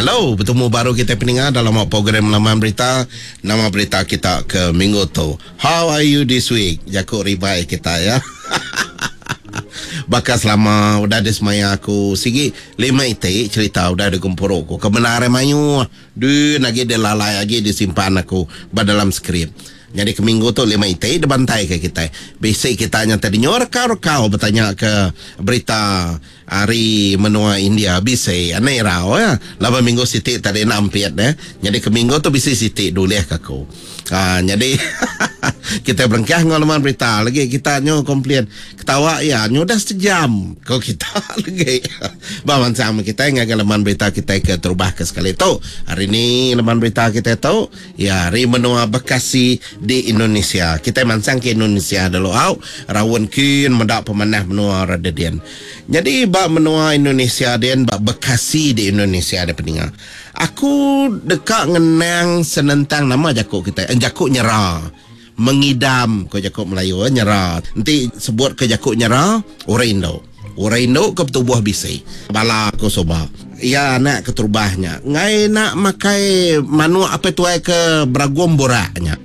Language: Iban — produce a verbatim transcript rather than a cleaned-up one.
Hello, betemu baru kita peninga dalam program Laman Berita. Nama berita kita ke minggu tu. How are you this week? Jaku ribai kita ya. Baka selama udah disemaya aku sigi lima iti cerita udah digempuru aku. Kebenaran mayuh dun agi dilalai agi disimpan aku ba dalam skrip. Nyadi ke minggu tu lima iti dibantai ke kitai. Bisi kita nya tadi nyu rekau-rekau betanya ke berita ari menua India bisi anai irau ya. Laban minggu siti tadi enda ampit eh. Nyadi ke minggu tu bisi siti dulih ke aku. Ha, nyadi kita berengkah enggau laman berita lagi kita nyu komplain ketawa iya nyu udah sejam ko kita lagi. Ba mansang meh kitai ngagai laman berita kitai ke terubah ke sekali tu. Hari ni laman berita kitai tu iya ari menua Bekasi di Indonesia. Kitai mansang ke Indonesia dulu au raun kin meda pemanah menua ra dedin. Nyadi ba menua Indonesia din ba Bekasi di Indonesia deh peninga. Aku deka ngenang senentang nama jaku kitai jaku nyera. Mengidam ko jaku Melayu nyera. Enti sebut ke jaku nyera orang indu. Orang indu ke betubuh bisi. Bala aku suba. Iya anak keterubah nya. Enggai enda makai manuk apai tuai ke beragum burak nya.